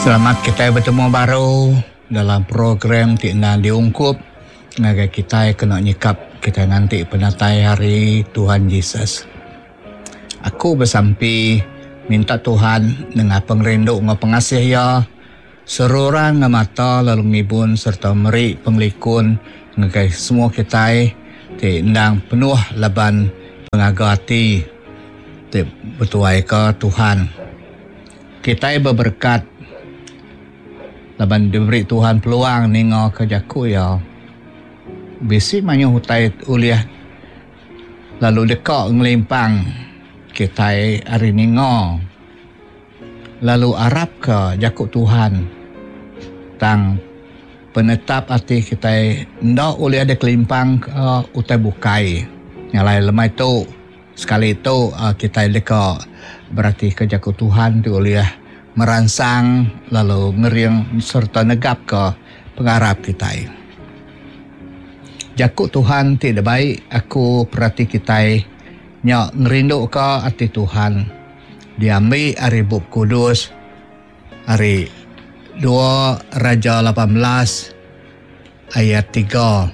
Selamat kitai betemu baru dalam program ti endang diungkup ngagai kitai kena nyikap kitai nganti penatai hari Tuhan Jesus. Aku besampi minta Tuhan nengah pengerindu enggau pengasih Iya seruran ngemata lalu ngibun sereta meri pengelikun ngagai semua kitai ti endang penuh laban pengaga ati ti betuaika Tuhan. Kitai beberekat laban diberi Tuhan peluang ningaka jaku Iya. Bisi mayuh utai ulih lalu deka ngelimpang kitai ari ninga lalu arapka jaku Tuhan. Tang penetap ati kitai enda ulih dikelimpangka utai bukai. Nya alai lemai tu sekali tu kitai deka beratika jaku Tuhan ti ulih meransang lalu ngering sereta negapka pengarap kitai. Jaku Tuhan ti dibai aku perati kitai nya ngerinduka ati Tuhan diambi ari Bup Kudus ari dua Raja 18 ayat 3.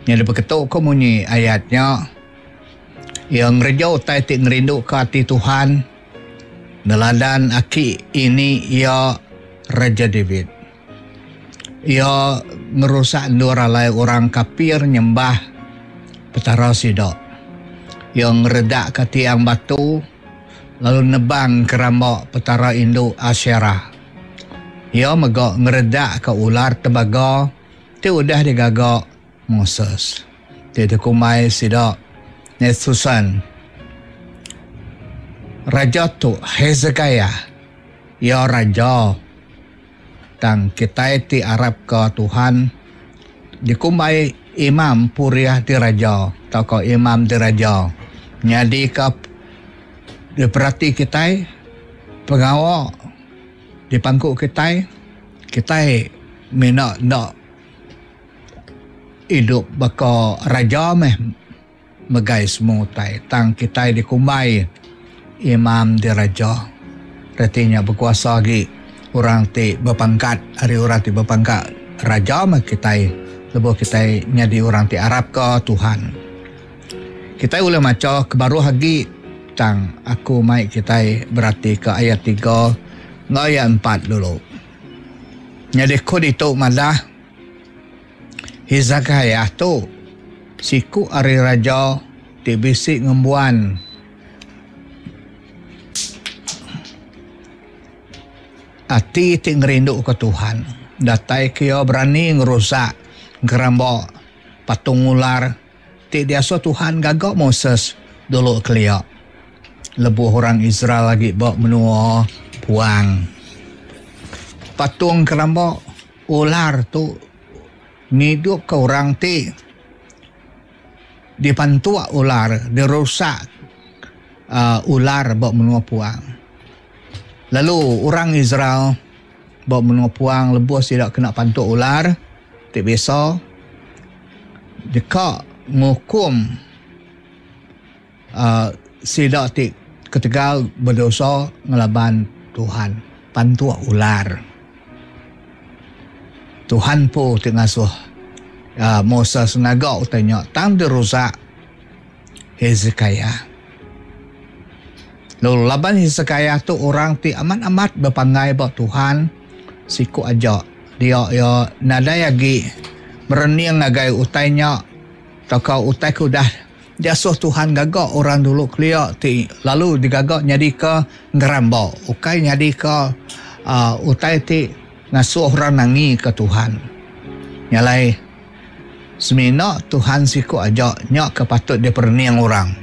Nyadi beketu ko munyi ayat nya iya ngereja utai ti ngerinduka ati Tuhan neladan aki ini iya Raja David. Iya ngerusak endur alai orang kapir nyembah petara sida. Iya ngeredakka tiang batu lalu nebang keramba petara indu Aserah. Iya mega ngeredakka ular tembaga ti udah digaga Moses ti dikumbai sida Nethusan. Raja tu Hezekiah. Iya raja. Tang kitai ti arapka Tuhan dikumbai imam purih diraja tauka imam diraja nyadika diperati kitai pengawa dipangku kitai, kitai mina enda idup baka raja meh megai semua utai tang kitai dikumbai imam diraja. Reti nya bekuasa agi orang ti bepangkat ari orang ti bepangkat raja meh kitai lebuh kitai nyadi orang ti arapka Tuhan. Kitai ulih macha ke baruh agi tang aku mai kitai beratika ayat 3 enggau ayat 4 dulu. Nyadi ku ditu madah Hezekiah tu siku ari raja ti bisi ngembuan ati ti ngerinduka Tuhan. Datai ke iya berani ngerusak geramba patung ular ti diasuh Tuhan gaga Moses dulu kelia lebuh orang Israel agi ba menua puang. Patung keramba Ular tu ngidupka orang ti dipantuk ular, dirusak ular ba menua puang. Lalu orang Israel ba menua puang lebuh sida kena pantuk ular ti bisa deka ngukum Sida ti ketegal bedosa ngelaban Tuhan pantuk ular. Tuhan empu ti ngasuh Moses ngaga utai nya tang dirusak Hezekiah. Lalu laban Hezekiah tu orang ti amat-amat bepanggai ba Tuhan siku aja dia iya nadai agi merening ngagai utai nya tauka utai ke udah Diasuh Tuhan gaga orang dulu kelia ti lalu digaga nyadika ngeramba, ukai nyadika utai ti ngasuh orang nangika Tuhan. Nya alai, semina Tuhan siku aja nya ke patut diperening orang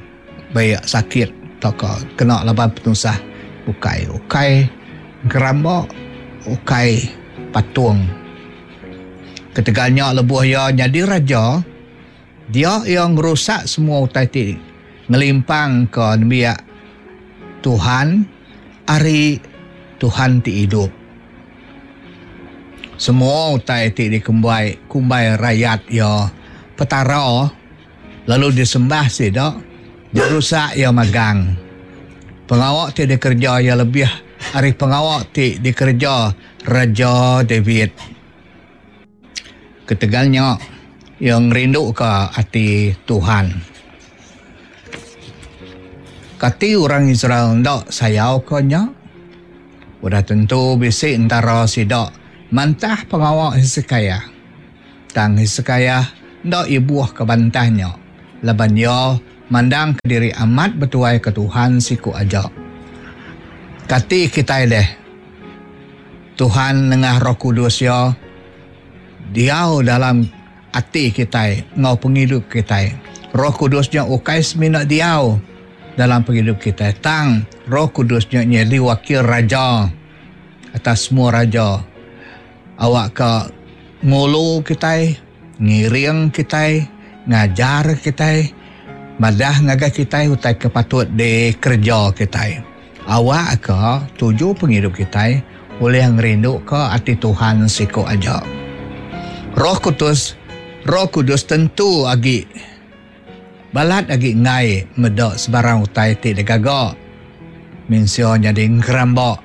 baik sakit tauka kena laban penusah bukai, ukai ngeramba, ukai patung. Ketegal nya lebuh iya nyadi raja, Dia iya ngerusak semua utai ti ngelimpangka nembiak Tuhan ari Tuhan ti idup. Semua utai ti dikumbai kumbai rayat iya petara lalu disembah sida dirusak iya magang. Pengawa ti dikereja iya lebih ari pengawa ti dikereja Raja David. Ketegal nya, iya ngerinduka ati Tuhan. Kati orang Israel enda sayauka nya? Udah tentu bisi entara sida mantah pengawa Hesekiah. Tang Hesekiah enda ibuhka bantah nya laban iya mandangka diri amat betuaika Tuhan siku aja. Kati kitai deh? Tuhan nengah Roh Kudus Iya diau dalam ati kitai enggau pengidup kitai. Roh Kudus nya ukai semina diau dalam pengidup kitai tang Roh Kudus nya nyadi wakil raja atas semua raja awakka ngulu kitai, ngiring kitai, ngajar kitai, madah ngagai kitai utai ke patut dikereja kitai. Awakka tuju pengidup kitai ulih ngerinduka ati Tuhan siku aja. Roh Kudus Roh Kudus tentu agi balat agi enggai meda sebarang utai ti digaga mensia nyadi engkeramba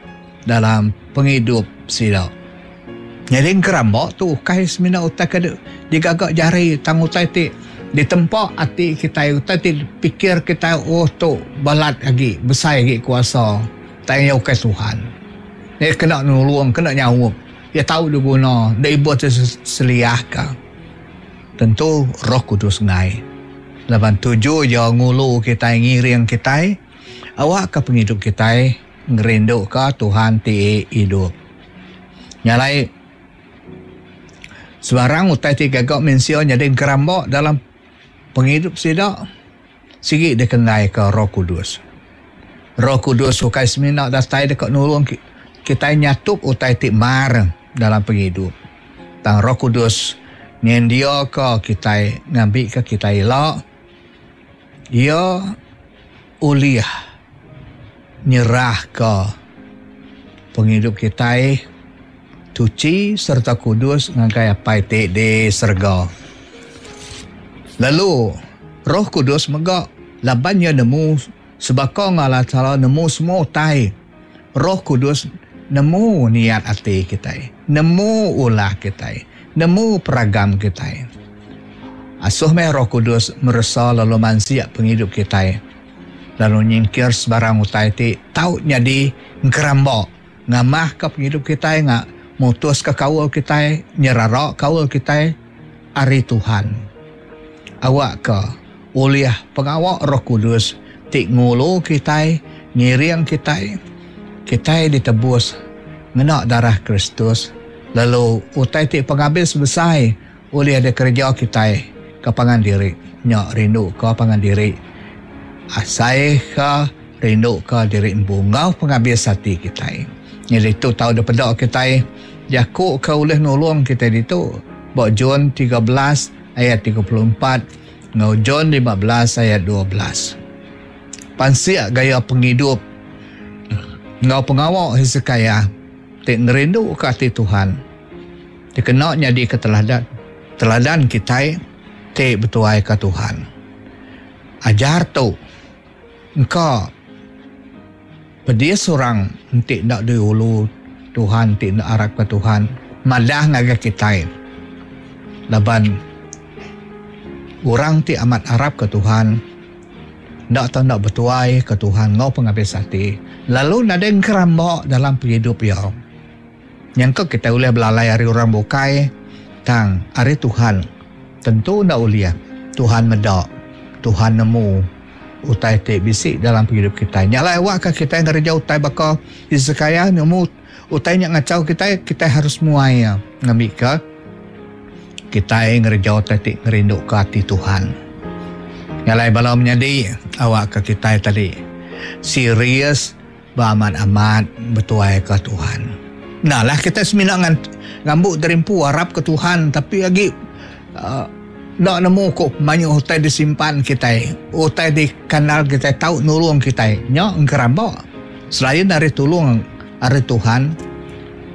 dalam pengidup sida. Nyadi engkeramba tu ukai semina utai ke digaga jari tang utai ti ditempa ati kitai utai ti dipikir kitai oh tu balat agi besai agi kuasa tang iya ukai Tuhan. Iya kena nulung kena nyaup iya tau diguna enda ibuh ti seliahka. Tentu Roh Kudus enggai laban tuju iya ngulu kitai ngiring kitai awakka pengidup kitai ngerinduka Tuhan ti idup. Nya alai sebarang utai ti gaga mensia nyadi engkeramba dalam pengidup sida sigi dikenggaika Roh Kudus. Roh Kudus ukai semina datai deka nulung kitai nyatup utai ti mar dalam pengidup. Tang Roh Kudus nyendiaka kitai ngambika kitai ila iya ulih nyerahka pengidup kitai tuchi sereta kudus ngagai Apai ti di serega. Lalu Roh Kudus mega laban iya nemu sebaka enggau Allah Taala nemu semua utai, Roh Kudus nemu niat ati kitai, nemu ulah kitai, nemu peragam kitai. Asuh meh Roh Kudus meresa lalu mansik pengidup kitai. Lalu nyingkir sebarang utai ti tau nyadi engkeramba ngamahka pengidup kitai nga mutuska kaul kitai nyerara kaul kitai ari Tuhan. Awakka ulih pengawa Roh Kudus ti ngulu kitai ngiring kitai, kitai ditebus ngena darah Kristus lalu utai ti pengabis besai Ulih dikereja kitai ke pangan diri nya rinduka pangan diri asaika rinduka diri empu enggau pengabis ati kitai. Nyadi tu tau dipeda kitai jaku ke ulih nulung kitai ditu ba John 13 ayat 34 enggau John 15 ayat 12. Pansik gaya pengidup enggau pengawa Hesekiah ti ngerinduka ati Tuhan. Dikena nyadika teladan teladan kitai ti betuaika Tuhan. Ajar tu engka pedis orang enti enda diulu Tuhan ti enda arapka Tuhan madah ngagai kitai laban orang ti amat arapka Tuhan enda tau enda betuaika Tuhan enggau pengabis ati lalu nadai engkeramba dalam pengidup iya. Nyangka kitai ulih belalai ari orang bukai, tang ari Tuhan tentu enda ulih. Tuhan meda, Tuhan nemu utai ti bisi dalam pengidup kitai. Nya alai awakka kitai ngereja utai baka Hesekiah nemu utai nya ngachau kitai, kitai harus muai iya ngambika kitai ngereja utai ti ngerinduka ati Tuhan. Nya alai bala menyadi awakka kitai tadi serius. Ba amat-amat betuaika Tuhan. Enda lah kitai semina ngambu diri empu arapka Tuhan tapi agi enda nemu ku mayuh utai disimpan kitai, utai dikandal kitai tau nulung kitai. Nya engkeramba. Selain ari tulung ari Tuhan,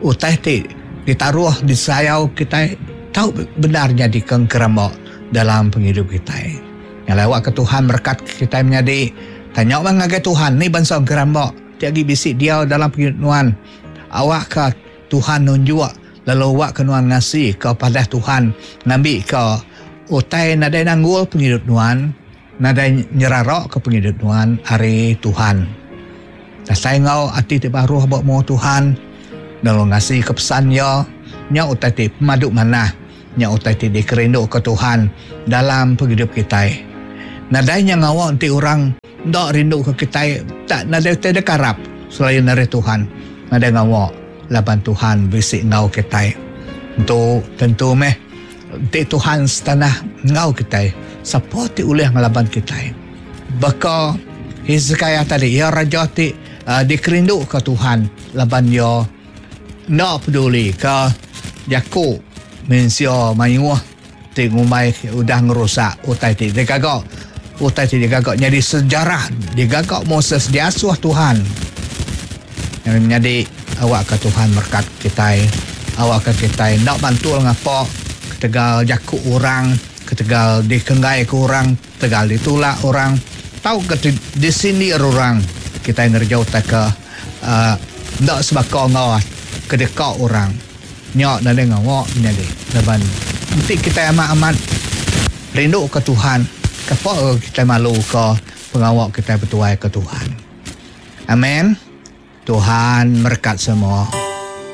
utai ti ditaruh disayau kitai tau bendar nyadika engkeramba dalam pengidup kitai. Nya alai awakka Tuhan merekat kitai menyadi. Tanya meh ngagai Tuhan ni bansa engkeramba. ti agi bisi diau dalam pengidup nuan. Awakka Tuhan nunjuk lalu awakka nuan ngasika padah Tuhan ngambika utai nadai nanggul pengidup nuan, nadai nyeraraka pengidup nuan ari Tuhan. Datai enggau ati ti baruh ba mua Tuhan lalu ngasika pesan Iya, nya utai ti pemadu manah. Nya utai ti dikerinduka Tuhan dalam pengidup kitai. Nadai nya ngawa enti orang enda rinduka kitai tak nadai utai dikarap selain ari Tuhan. Nadai ngawa laban Tuhan bisi enggau kitai. Entu tentu meh enti Tuhan setanah enggau kitai, sapa ti ulih ngelaban kitai? Baka Hezekiah tadi, iya raja ti dikerinduka Tuhan laban iya Enda peduli ka jaku mensia mayuh ti ngumbai udah ngerusak utai ti digaga. Utai ti digaga nyadi sejarah digaga Moses diasuh Tuhan. Nyadi awakka Tuhan merekat kitai. Awakka kitai enda mantul ngapa ketegal jaku orang, ketegal dikenggaika orang, ketegal ditulak orang tauka disindir orang. Kitai ngereja utai ke uhh enda sebaka enggau ke deka orang nya nadai ngawa menyadi laban enti kitai amat amat rindu ka Tuhan kapa kitai malu ka pengawa kitai betuai ka Tuhan. Amen. Tuhan merekat semua.